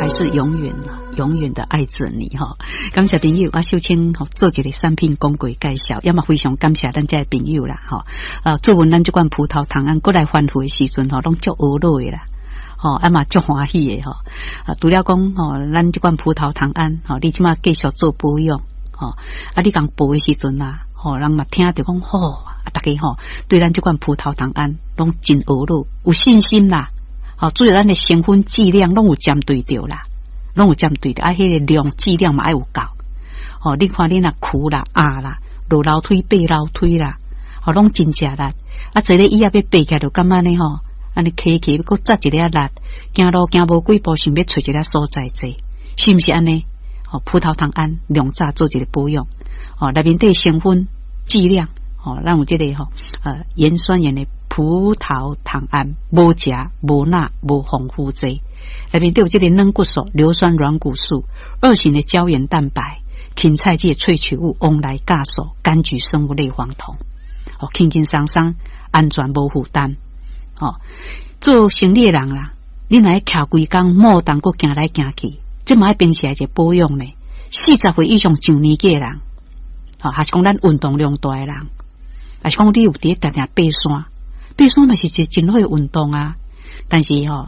還是永遠永遠的愛着你吼。感謝朋友，我秀清吼做一个產品廣告介紹，也嘛非常感謝咱遮的朋友啦吼。啊，做阮咱這款葡萄糖胺閣來反覆的時陣吼，攏足懊惱的啦。吼，啊嘛足歡喜的吼。啊，除了講吼，咱這款葡萄糖胺吼，你這馬繼續做保養吼，啊，你講報的時陣啊，吼，人嘛聽著講吼，啊，逐家吼對咱這款葡萄糖胺攏真懊惱，有信心啦。吼，主要咱的成分劑量攏有針對著啦，攏有針對著，啊，彼個量劑量嘛愛有夠。吼，你看你若跍啦、壓啦、落樓梯、爬樓梯啦，吼，攏真食力。啊，坐咧椅仔欲爬起來就感覺呢吼，按呢起起閣扎一下力，行路行無幾步，想欲揣一个所在坐，是毋是按呢？吼，葡萄糖胺量早做一個保養，吼，內面底成分劑量，吼，咱有這個吼，鹽酸鹽的葡萄糖胺，無鉀、無鈉、無防腐劑，內面底有這個軟骨素、硫酸軟骨素、二型的膠原蛋白、芹菜籽萃取物、黃來酵素、柑橘生物類黃酮，哦，輕輕鬆鬆，安全無負擔。哦，做生理的人啦，你若徛規工，摩動閣行來行去，這嘛愛平時來一個保養呢。40歲以上上年紀的人，吼，還是講咱運動量大的人，還是講你有佇咧定定爬山，爬山嘛是一個真好的運動啊。但是吼，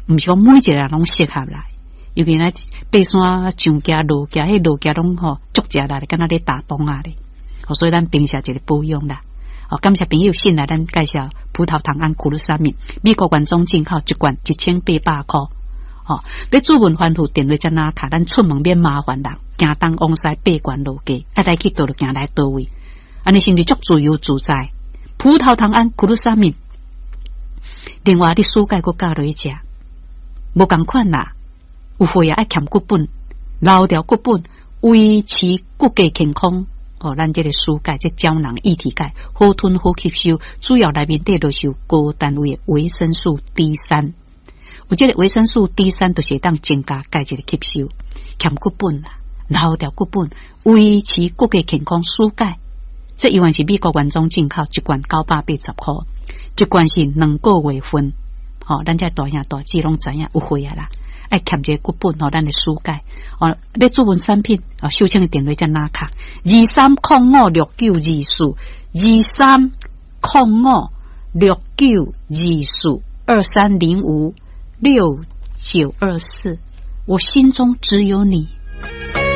毋是講每一個人攏適合啦。尤其咱爬山上行落行，彼落行攏吼足食力，敢若咧打樁仔咧。所以咱平時一個保養啦。哦，感謝朋友信賴咱介紹葡萄糖胺苦魯沙米，美國原裝進口一罐1800箍。吼，欲諮問反覆電話才拿卡，咱出門免麻煩人，行東往西爬懸落低，愛來去佗就行來佗位，按呢是毋是足自由自在？葡萄糖胺苦魯沙米，另外你暑假閣教落去食，無仝款啦，有血壓愛欠骨本，留掉骨本，維持骨骼健康。哦，咱這個舒鈣，這膠囊液體鈣，好吞好吸收，主要內面底都是有高單位的維生素 D 三，有這個維生素 D 三，就是會當增加鈣質的吸收，欠骨本啦，留掉骨本，維持骨骼健康，舒鈣。這依然是美國原裝進口，一罐980箍，一罐是2個月份。吼，咱這大兄大姊攏知影有血壓啦。愛欠這個骨本吼，咱的舒鈣哦，欲諮問產品哦，秀清的電話才拿卡23056924，23056924，23056924。我心中只有你。